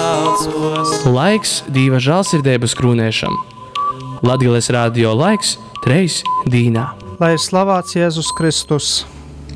saucos. Laiks Dīva žālsirdeibas krūnēšam. Latgales radio laiks treis dīnā. Lai ir slavāts Jēzus Kristus,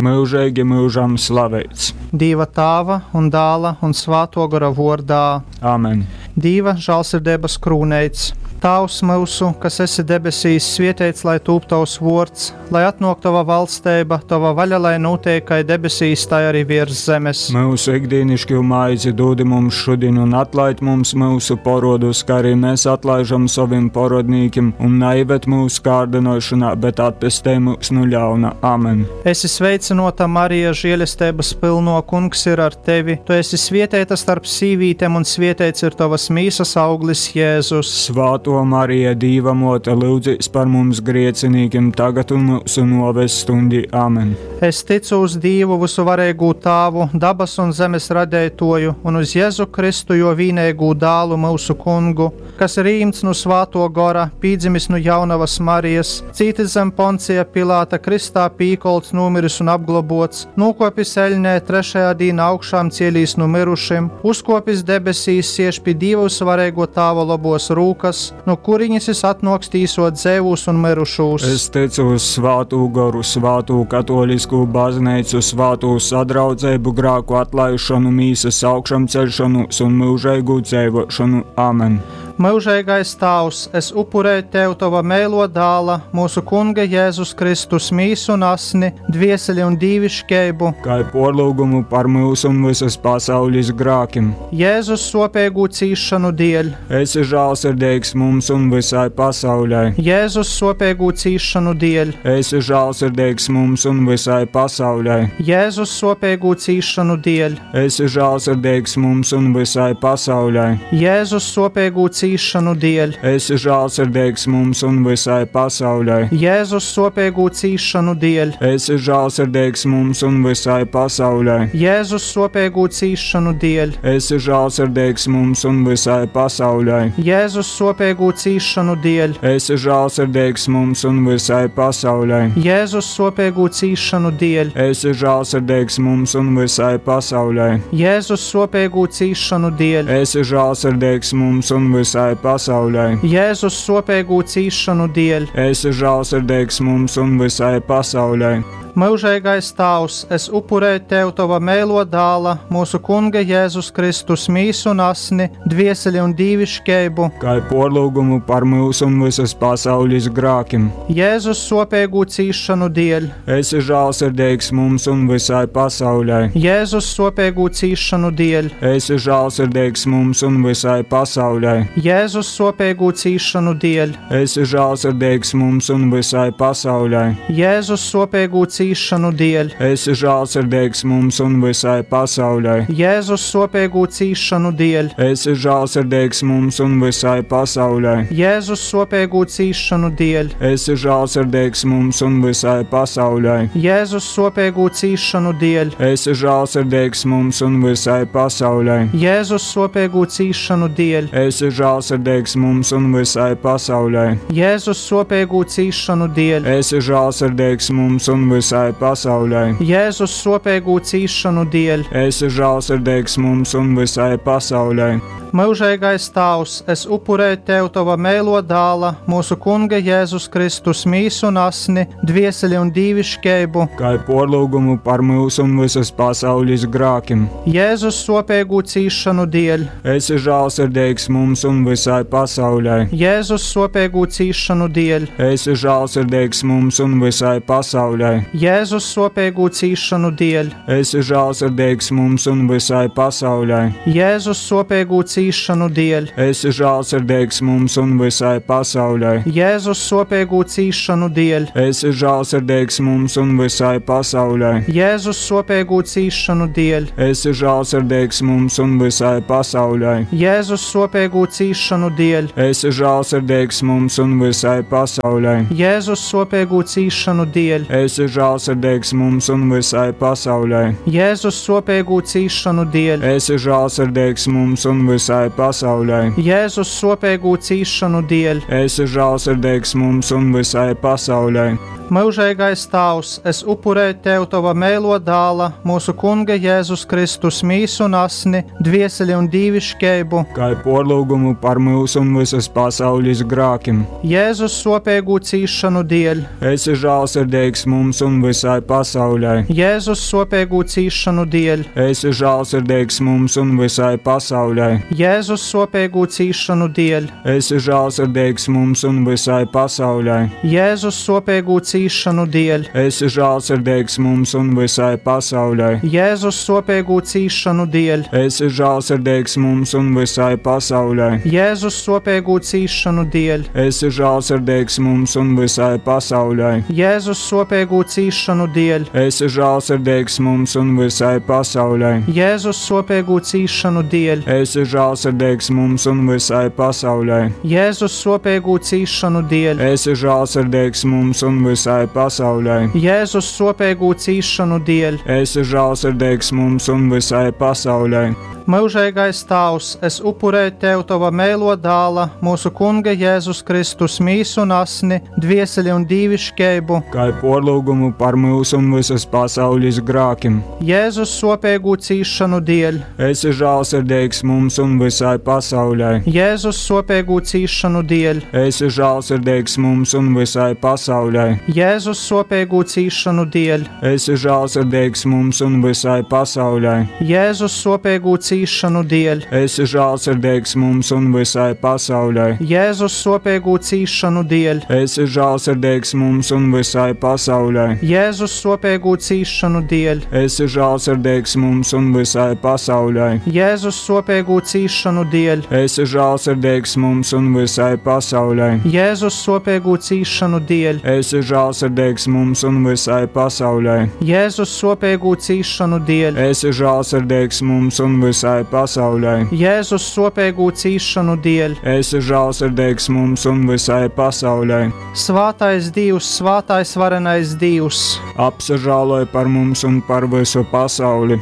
Myužeigi myužam slaveits. Dīva Tāva un Dāla un Svāto Gora vordā, Amen. Dīva žālsirdeibas krūneits. Tāvs mūsu, kas esi debesīs, svietēts, lai tūp tavs vords, lai atnok tava valsteiba, tava vaļa, lai notiek kai debesīs, tā arī virs zemes. Mūsu ikdienišķo maizi dod mums šodien un atlaid mums mūsu porodus, kā arī mēs atlaižam saviem porodnīkiem, un neieved mūsu kārdinošanā, bet atpestē mūs no ļauna. Amen. Esi sveicinota, Marija, žēlestības pilno, kungs ir ar tevi. Tu esi svietēta starp sīvītēm, un svietēts ir tavas mīsas auglis Jēzus. Svāto Marija, Dīva mote, lūdzīs par mums griecinīkiem tagad un mūsu noves stundī. Amen. Es ticu uz Dievu visuvarīgū Tāvu, dabas un zemes radētoju, un uz Jēzu Kristu, jo vīnēgū dālu mūsu kungu, kas ir īmts no svāto gora, pīdzimis no jaunavas Marijas, cītis zem Poncija Pilāta Kristā pīkolts, nomiris un apglobots, nokopis eļnē, trešajā dīnā augšām cielīs no mirušiem, uzkopis debesīs, sieš pie Dieva visvarīgo Tāva labos rūkas, no kuriņas es atnoks tīsot dzēvūs un mirušūs. Es ticu uz svātū goru, svātū katoliskū baznīcu, svātū sadraudzību, grāku atlaišanu, mīsas augšamceļšanos un mūžīgu dzīvošanu. Amen. Mūžīgais Tēvs, es upurēju Tev Tava mēlo dāla, mūsu Kunga Jēzus Kristus mīsu un asni, dvieseli un dīvišķeibu, Kā porlūgumu par mūsu un visas pasaules grākim. Jēzus sopīgu cīšanu dēļ, Esi žālsirdīgs mums un visai pasaulē. Jēzus sopīgu cīšanu dēļ, Esi žālsirdīgs mums un visai pasaulē. Jēzus sopīgu cīšanu dēļ, Esi žālsirdīgs mums un visai pasaulē. Jēzus sopīgu cīšanu dēļ, Esi žālsirdīgs mums un visai pasaulē. Jēzus sopīgu cīšanu dēļ, Esi žālsirdīgs mums un visai pasaulē. Jēzus sopīgu cīšanu dēļ, Esi žālsirdīgs mums un visai pasaulē. Jēzus sopīgu cīšanu dēļ, Esi žālsirdīgs mums un visai pasaulē. Jēzus sopīgu cīšanu dēļ, Esi žālsirdīgs mums un visai pasaulē. Jēzus sopīgu cīšanu dēļ, Esi žālsirdīgs mums un visai pasaulē. Jēzus sopīgu cīšanu dēļ. Esi žālsirdīgs mums un visai pasaulē. Mūžīgais Tēvs, es upurēju Tev Tava mēlo dāla, mūsu Kunga Jēzus Kristus mīsu un asni, dvieseli un dīvišķeibu, Kā porlūgumu par mūsu un visas pasaules grākim. Jēzus sopīgu cīšanu dēļ, Esi žālsirdīgs mums un visai pasaulē. Jēzus sopīgu cīšanu dēļ, Esi žālsirdīgs mums un visai pasaulē. Jēzus sopīgu cīšanu dēļ, Esi žālsirdīgs mums un visai pasaulē. Jēzus sopīgu cīšanu dēļ, Esi žālsirdīgs mums un visai pasaulē. Jēzus sopīgu cīšanu dēļ, Esi žālsirdīgs mums un visai pasaulē. Jēzus sopīgu cīšanu dēļ, Esi žālsirdīgs mums un visai pasaulē. Jēzus sopīgu cīšanu dēļ, Esi žālsirdīgs mums un visai pasaulē. Jēzus sopīgu cīšanu dēļ, Esi žālsirdīgs mums un visai pasaulē. Jēzus sopīgu cīšanu dēļ, Esi žālsirdīgs mums un visai pasaulē. Jēzus sopīgu cīšanu dēļ. Esi žālsirdīgs mums un visai pasaulē. Mūžīgais Tēvs, es upurēju Tev Tava mēlo dāla, mūsu Kunga Jēzus Kristus mīsu un asni, dvieseli un dīvišķeibu, Kā porlūgumu par mūsu un visas pasaules grākim. Jēzus sopīgu cīšanu dēļ, Esi žālsirdīgs mums un visai pasaulē. Jēzus sopīgu cīšanu dēļ, Esi žālsirdīgs mums un visai pasaulē. Jēzus sopīgu cīšanu dēļ, Esi žālsirdīgs mums un visai pasaulē. Jēzus sopīgu cīšanu dēļ, Esi žālsirdīgs mums un visai pasaulē. Jēzus sopīgu cīšanu dēļ, Esi žālsirdīgs mums un visai pasaulē. Jēzus sopīgu cīšanu dēļ, Esi žālsirdīgs mums un visai pasaulē. Jēzus sopīgu cīšanu dēļ, Esi žālsirdīgs mums un visai pasaulē. Jēzus sopīgu cīšanu dēļ, Esi žālsirdīgs mums un visai pasaulē. Jēzus sopīgu cīšanu dēļ, Esi žālsirdīgs mums un visai pasaulē. Jēzus sopīgu cīšanu dēļ, Esi žālsirdīgs mums un visai pasaulē. Myužeigais Tāvs, es upurēju Tev Tova meilo dāla, mūsu Kunga Jēzus Kristus mīsu un asni, dvieseli un dīviškeibu, Kai porlūgumu par mūsu un visas pasaules grākim. Jēzus sopīgu cīšanu dēļ, Esi žālsirdīgs mums un visai pasaulē. Jēzus sopīgu cīšanu dēļ, Esi žālsirdīgs mums un visai pasaulē. Jēzus sopīgu cīšanu dēļ, Esi žālsirdīgs mums un visai pasaulē. Jēzus sopīgu cīšanu dēļ, Esi žālsirdīgs mums un visai pasaulē. Jēzus sopīgu cīšanu dēļ, Esi žālsirdīgs mums un visai pasaulē. Jēzus sopīgu cīšanu dēļ, Esi žālsirdīgs mums un visai pasaulē. Jēzus sopīgu cīšanu dēļ, Esi žālsirdīgs mums un visai pasaulē. Jēzus sopīgu cīšanu dēļ, Esi žālsirdīgs mums un visai pasaulē. Jēzus sopīgu cīšanu dēļ, Esi žālsirdīgs mums un visai pasaulē. Jēzus sopīgu cīšanu dēļ. Esi žālsirdīgs mums un visai pasaulē. Myužīgais Tēvs, es upurēju Tev Tava meilo dāla, mūsu Kunga Jēzus Kristus mīsu un asni, dvieseli un dīviškeibu, Kai porlūgumu par mūsu un visas pasaules grākim. Jēzus sopīgu cīšanu dēļ, Esi žālsirdīgs mums un visai pasaulē. Jēzus sopīgu cīšanu dēļ, Esi žālsirdīgs mums un visai pasaulē. Jēzus sopīgu cīšanu dēļ, Esi žālsirdīgs mums un visai pasaulē. Jēzus sopīgu cīšanu dēļ, Esi žālsirdīgs mums un visai pasaulē. Jēzus sopīgu cīšanu dēļ, Esi žālsirdīgs mums un visai pasaulē. Jēzus sopīgu cīšanu dēļ, Esi žālsirdīgs mums un visai pasaulē. Jēzus sopīgu cīšanu dēļ, Esi žālsirdīgs mums un visai pasaulē. Jēzus sopīgu cīšanu dēļ, Esi žālsirdīgs mums un visai pasaulē. Jēzus sopīgu cīšanu dēļ, Esi žālsirdīgs mums un visai pasaulē. Jēzus sopīgu cīšanu dēļ. Esi žālsirdīgs mums un visai pasaulē. Svātais Dievs, svātais varenais Dievs, Apsažāloj par mums un par visu pasauli.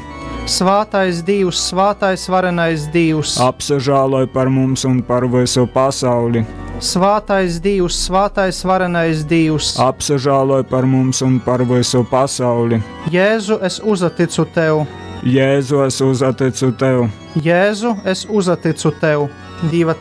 svātais Dievs, svātais varenais Dievs, Apsažāloj par mums un par visu pasauli. svātais Dievs, svātais varenais Dievs. Apsažāloj par mums un par visu pasauli. Jēzu, es uzticu tev, Jēzu, es uzticu tev. Jēzu, es uzticu tev. Dieva